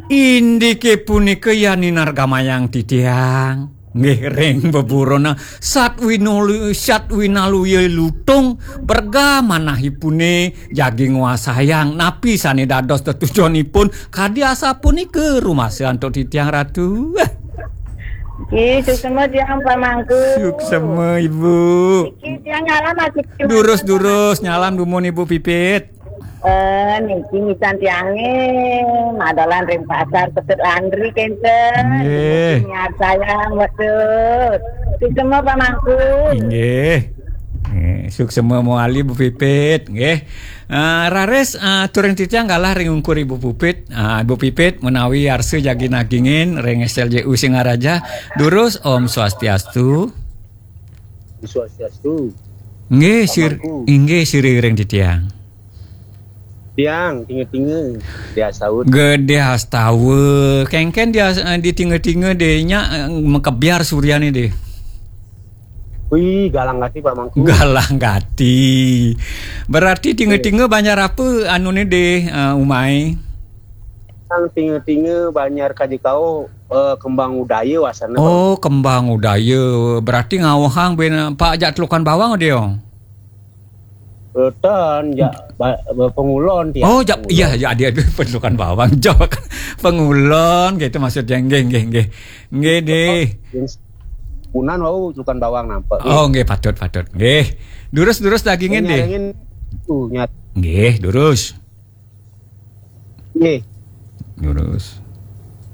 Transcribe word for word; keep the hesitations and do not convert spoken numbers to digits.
Indike punika yani nargamayang titiang. Nggih, ring beburona Satwinulu-, Satwinaluya Lutung, berga manahipune jagi nguasayang napi sane dados tetujonipun, kadi asapunika rumasa antuk titiang, Ratu. Nggih, suksma tiang pamangku. Suksma, Ibu. Niki tiang nyalam masih. Durus-durus, nyalam dumun, Ibu Pipit. Eh, niki misan tiange madolan ring pasar Petut Landri kenten. Nggih. Niki niat saya, betul. Suksma pamangku. Inggih. Nggih, suksma mawali, Bu Pipit, nggih. Ah, raris, ah, turing titiang galah ring ungkur Ibu Pupit, ah, Ibu Pipit menawi arsa jagi nagingin ring S L J U Singaraja. Durus, Om Swastiastu. Swastiastu. Nggih, sir-, Pamangku. Inggih, sira ring titiang. Tiang, tinga-tinga, Gedhe Astawa. Gedhe Astawa. Kengken dia, eh, di tinga-tinga de nya, eh, makebyar suryane de. Wih, galang gati, Pamangku. Galang gati. Berarti tinga-tinga banjar apa anune de, eh, umai? Sang tinga-tinga banjar kadikau, eh, kembang udaya wasana, Pamangku. Oh, kembang udaya. Berarti ngawehang ben, Pak, jak Telukan Bawang dia. Ten, jak ba-, ba-, Pengulon tiang. Oh, jak, Pengulon. Iya, ya, dia, dia Telukan Bawang. Jak Pengulon, gitu maksudnya. Nggih, nggih, nggih. Nggih, deh. Punan wau Telukan Bawang nampak. Oh, nggih, patut, patut. Nggih. Durus, durus dagingin, deh. Nyarengin tuh, nyat. Nggih, durus. Nggih. Durus.